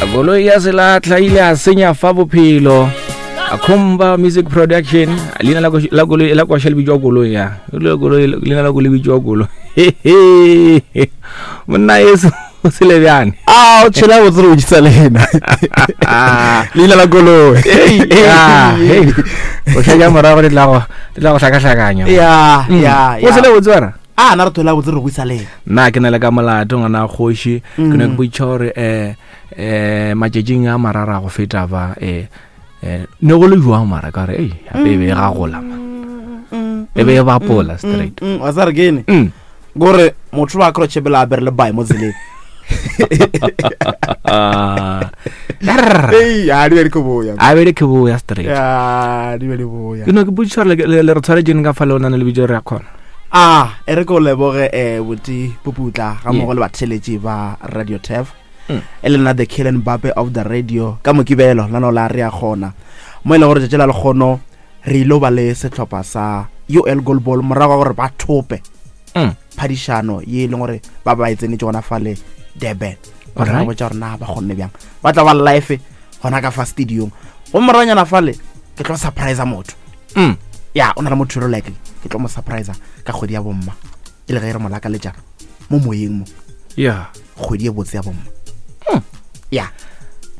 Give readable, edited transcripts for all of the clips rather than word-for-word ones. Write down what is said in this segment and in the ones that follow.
Koloi ya selatlha ile a senya fa bophelo. Akhomba Music Production, leina la la koloi la kwasha le bitšwa koloi ya. Le koloi leina la koloi bitšwa koloi. Monna yeso o sele bjane. A o tshela botse re botšisa lena. Leina la koloi. Ya, hey. O šetša morago di tla go di tla go hlakahlakanya. Ya, ya, O sele botse wena? A na re thola botse re go lena. Nna ke na le ka molato ngwana kgoši. Ke ne ke botša gore eh eh matšatšing a marara go feta ba eh eh ne go le jwang mara ka re ei gape e be e gagola man. E be e bapola straight. Wa sa re kene? Gore motho ba kro chebela a bere le bae mo tseleng. Ei, a di be di ke boya. A be di ke boya straight. Ya, di be di boya. Ke no ke botšiša gore le re tshwaretšeng ka fa le o nane le bitso re ya kgona. A e re ke o leboge eh boti Puputla ga mmogo le batheletši ba Radio Tef. E le nna the Kylian Mbappe of the radio ka Mokibelo la no la re ya kgona. Mo e leng gore tšatši la lekgono re ile ba le sehlopha sa UL Goalball morago ga gore ba thope phadišano ye e leng gore ba ba e tsenetše gona fale Durban. Ba tla botša gore na ba kgonne bjang. Ba tla ba live gona ka fa stadium. Go moranyana fale ke tlo surprise motho. Ya o na le motho yo like ke tlo mo surprise ka kgwedi ya bomma. E le ge re mo lakaletša mo moyeng mo. Ya. Kgwedi e botse ya bomma. Ya.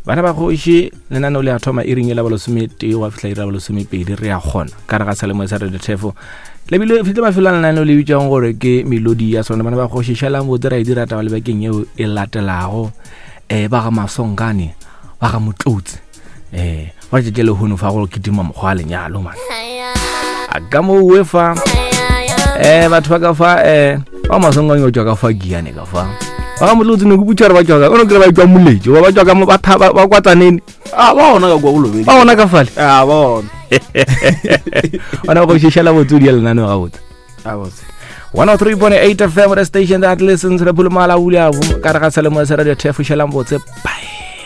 Bana ba kgoši lenaneo le a thoma iring e la bolesome-tee gwa fihla iri ya bolesomepedi re a kgona ka re ga salemoe sa Radio Thefo lebile fihle mafelo a lenaneo le bitšwang gore ke melodi ya sona. Bana ba kgoši šalang botse ra e dira taba le bekeng yeo e latelago. Um ba ga Masonkane ba ga Motlotse um ba tšetše lehono fa go kitima mokgwa wa lenyalo man. A ka mo uwe fa um batho ba ka fa um ba Masonkane o tšwa ka fa Giane ka fa ba ga Motlotse ne ke botša gore ba tšwa ka o no kry ba tšwa Moletše ba tšwa ka mo ba ba kwa Tsaneni. A ba ona ka kwa Bolobedi. Ba ona ka fale. A ba ona. Ona go šešela botse o di lenaneo gabotse. A botse. 103.8 FM, the station that listens. Re phulumala ula ka re ga selemo sa Radio Thefo šelang botse. Bye.